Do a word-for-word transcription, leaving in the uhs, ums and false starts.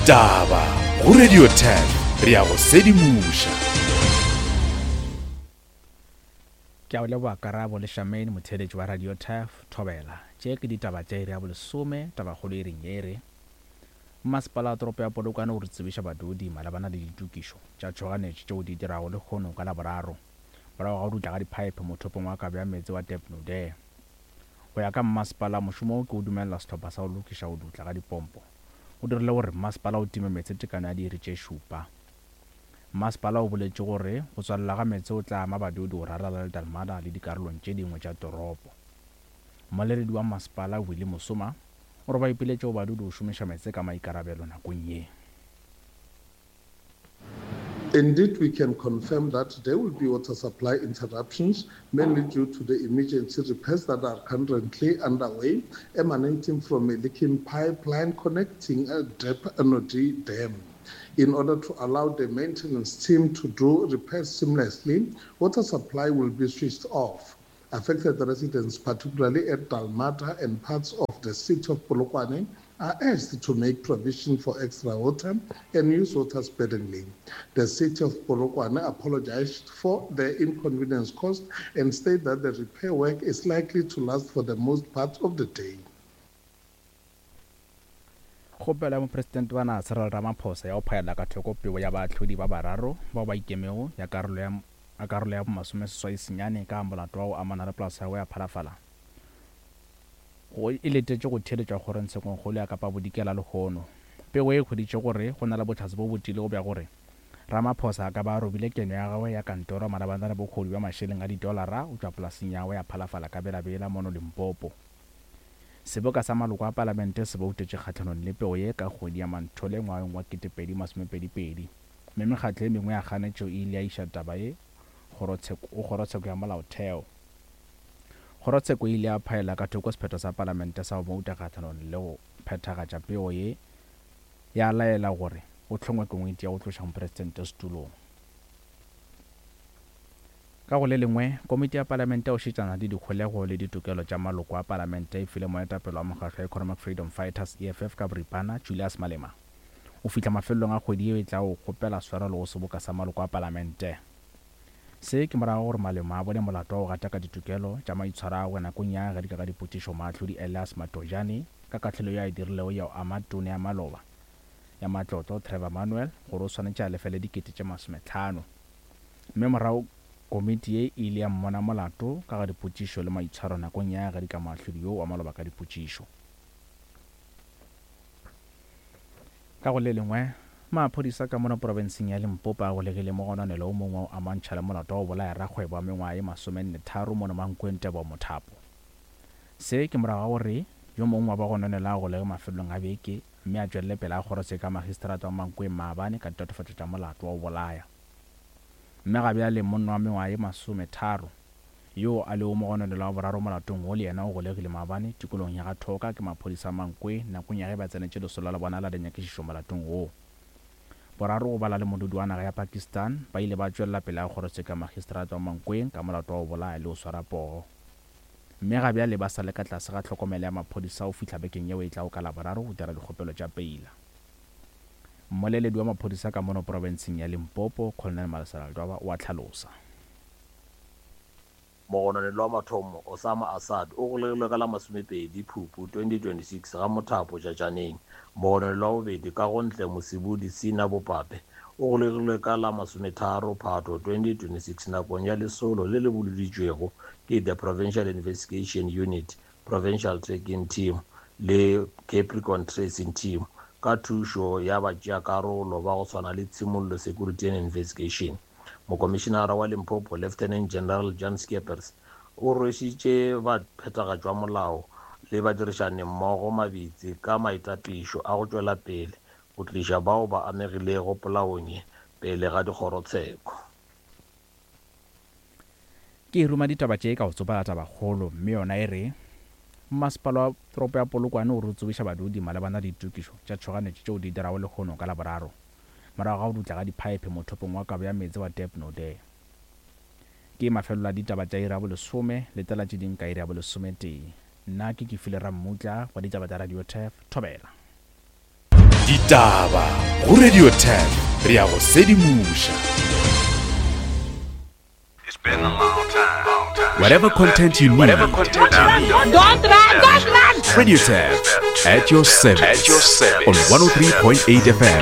Ditaba go Radio ten re ya go sedimoša. Ke a o leboga Karabo le Shamaine, motheeletši wa Radio Turf Thobela. Tše ke ditaba tša iri ya bolesome, tabakgolo e reng e re Mmasepala wa toropo ya Polokwane o re tsebiša badudi malebana le ditokišo tša tšhoganetšo tšeo di dirago lehono ka Laboraro morago ga go dutla ga diphaephe mothopong wa kabo ya meetse wa Depnode. Go ya ka mmasepala, mošomo wo ke o dumelela sehlopha sa go lokiša go dutla ga dipompo o dirile gore mmasepala o time meetse tekano ya diiri tše šupa. Mmasepala o boletše gore go tswalela ga meetse o tla ama badudi go ralala le Dalmada le dikarolong tše dingwe tša toropo. Mmoleledi wa mmasepala Willie Mosoma o re ba ipiletše go badudi go šomiša meetse ka maikarabelo nakong ye. Indeed, we can confirm that there will be water supply interruptions, mainly due to the emergency repairs that are currently underway, emanating from a leaking pipeline connecting a Dep N O D Dam. In order to allow the maintenance team to do repairs seamlessly, water supply will be switched off. Affected residents, particularly at Dalmata and parts of the city of Polokwane, are urged to make provision for extra water and use water sparingly. The city of Polokwane apologized for the inconvenience caused and stated that the repair work is likely to last for the most part of the day. Kgopelo ya mopresidente wa naga Cyril Ramaphosa ya go phaela ka thoko peo ya baahlodi ba bararo bao ba ikemego ya karolo ya a karolo ya bomasomeseswai senyane ka molato wa go amana le polasa ya go ya Phalafala go e letetše go theeletšwa kgorongtshekongkgolo ya Kapa Bodikela lehono. Pego e hweditše gore go na le bohlatse bo bo tiilego bja gore Ramaphosa a ka ba a robile keno ya gagwe ya kantoro malebana le bohodu bja mašeleng a didolara go tšwa polaseng ya gagwe ya Phalafala ka Bela-Bela mono Limpopo. Seboka sa maloko a palamente se boutetše kgahlanong le pego ye ka kgwedi ya Manthole ngwageng wa ketepedi masomepedi pedi, mme mekgatlo e mengwe ya kganetšo e ile ya iša taba ye go kgorotsheko ya molaotheo. Kgorotsheko e ile ya phaela ka thoko sephetho sa palamente sa go bouta kgahlanong le go phethagatša pego ye, ya laela gore go hlongwe komiti ya go tloša mopresidente setulong. Ka go le lengwe, komiti ya palamente ya go šetšana le dikholego le ditokelo tša maloko a palamente e file moetapele wa mokgatlo wa Economic Freedom Fighters, E F F ka boripana, Julius Malema, o fihla mafelelong a kgwedi yeo e tlago go kgopela swarelo go seboka sa maloko a palamente. Se ke morago gore Malema a bone molato wa go gataka ditokelo tša maitshwaro a gagwe nakong ya ge di ka ka dipotšišo moahlodi Elias Matojane ka kahlolo yeo a e dirilego ya go ama tona ya maloba ya matlotlo Trevor Manuel gore o swanetše a lefele dikete tše masometlhano. Mme morago komiti ye e ile ya mmona molato ka ga dipotšišo le maitshwaro nakong ya ge di ka moahlodi yo wa maloba ka dipotšišo. Ka go le lengwe, maphodisa ka mono profenseng ya Limpopo a golegile mogononelo o mongwe o amantšha le molato wa go bolaya rakgwebo wa mengwaga ye masomenne tharo mono Mankweng Tebogo Mothapo. Se ke morago ga gore yo mongwe wa bagononelwa a golege mafelelong a beke mme a tšwelele pele a kgorotsheko ya magistrata wa Mankweng maabane ka ditatofatšo tša molato wa go bolaya. Mme ga bjale monna wa mengwaga ye masometharo yo a lego mogononelwa wa boraro molatong wo le yena o golegile maabane tikologong ya ga Thoka ke maphodisa a Mankweng nakong ya ge ba tsenetše lesolo la bona la dinyakišišo molatong wo. Boraro go bala le modudi wa naga ya Pakistan ba ile ba tšwelela pele a kgorotsheko ya magistrata wa Mankweng ka molato wa go bolaya le go swara poo. Mme ga bjale ba sa le ka tlase ga tlhokomelo ya maphodisa go fihla bekeng yeo e tlago ka Laboraro go dira dikgopelo tša peila. Mmoleledi wa maphodisa ka mono profenseng ya Limpopo, Colonel Malesela Ledwaba, o a hlalosa. Mogononelwa wa mathomo, Osama Assad, o golegilwe ka la masomepedi Phupu twenty twenty-six ga Mothapo Tšatšaneng. Mogononelwa wa bobedi, Kagontle Mosibudi Sina Bopape, o golegilwe ka la masometharo Phato twenty twenty-six nakong ya lesolo le le boloditšwego ke the Provincial Investigation Unit, Provincial Tracking Team le Capricorn Tracing Team ka thušo ya batšeakarolo ba go swana le Tshimollo Security and Investigation. Mokomišenara wa Limpopo, Lieutenant General Jan Skeepers, o rwešitše baphethagatši ba molao le badirišani mmogo mabitsi ka maitapišo a go tšwela pele go tliša bao ba amegilego polaong ye pele ga dikgorotsheko. Ke ruma ditaba tše ka go tsopala tabakgolo, mme yona e re mmasepala wa toropo ya Polokwane o re tsebiša badudi malebana le ditokišo tša tšhoganetšo tšeo di dirago lehono ka Laboraro morago ga go dutla ga diphaephe mothopong wa kabo ya meetse wa Depnode. Ke mafelelo a ditaba tša iri ya bolesome, letela tše ding ka iri ya bolesometee. Nna ke Kefile Rammutla wa ditaba tša Radio Turf, Thobela. Ditaba Go Radio ten re ya go sedimoša. Whatever content you need. Don't run, don't run! Radio Tab at your service. At your service. On one oh three point eight F M.